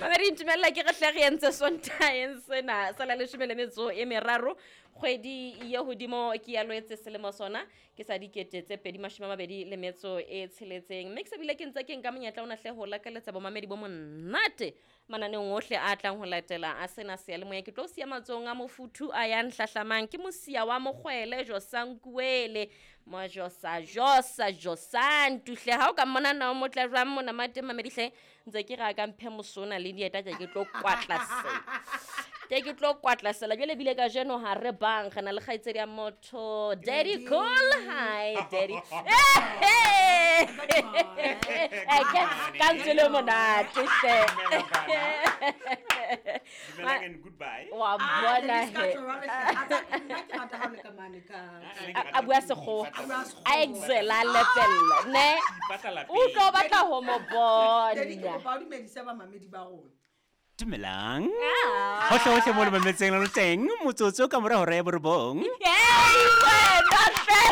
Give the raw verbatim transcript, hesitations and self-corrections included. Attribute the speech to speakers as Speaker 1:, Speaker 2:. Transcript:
Speaker 1: Mamedi, ntumella ke re hle re entse Sontaeng sena sa la leshome le metso e meraro kgwedi ye hodimo ke ya Loetse selemo sona ke sa dikete tse pedi mashome a mabedi le metso e tsheletseng. Mme ke se bile ke ntse ke nka monyetla ona hle ho lakaletsa bomamedi bo monate mananeong ohle a tlang ho latela a sena seyalemoya. Ke tlo siya matsohong a mofuthu a yang hlahlamang ke mosia wa mokgwele Josankuele Mojosa Josa Josantu hle. Ha o ka mmona na o motle jwang mona mate mamedi hle, ntse ke re a ka mphe mosona le dieta tje ke tlo kwatlasela, ke ke tlo kwatlasela jwale. Ebile kajeno ha re bang re na le kgaitsedi ya motho, Daddy Cool. Hi Daddy. Eh, ke- ka ntswe le monate hle.
Speaker 2: Dumelang and goodbye.
Speaker 1: Wa bona he. A bua Sekgowa, a excela, a lepella ne.
Speaker 2: Ipatla lapeng.
Speaker 1: O tlo batla ho mo
Speaker 3: Daddy, ke
Speaker 1: bona.
Speaker 3: kopa o dumedise bamamedi ba rona.
Speaker 2: Dumelang.
Speaker 1: Ah.
Speaker 2: Hohle hohle mo le mametseng le teng, motsotso ka mora hora ya borobong.
Speaker 1: Hey, wena hle.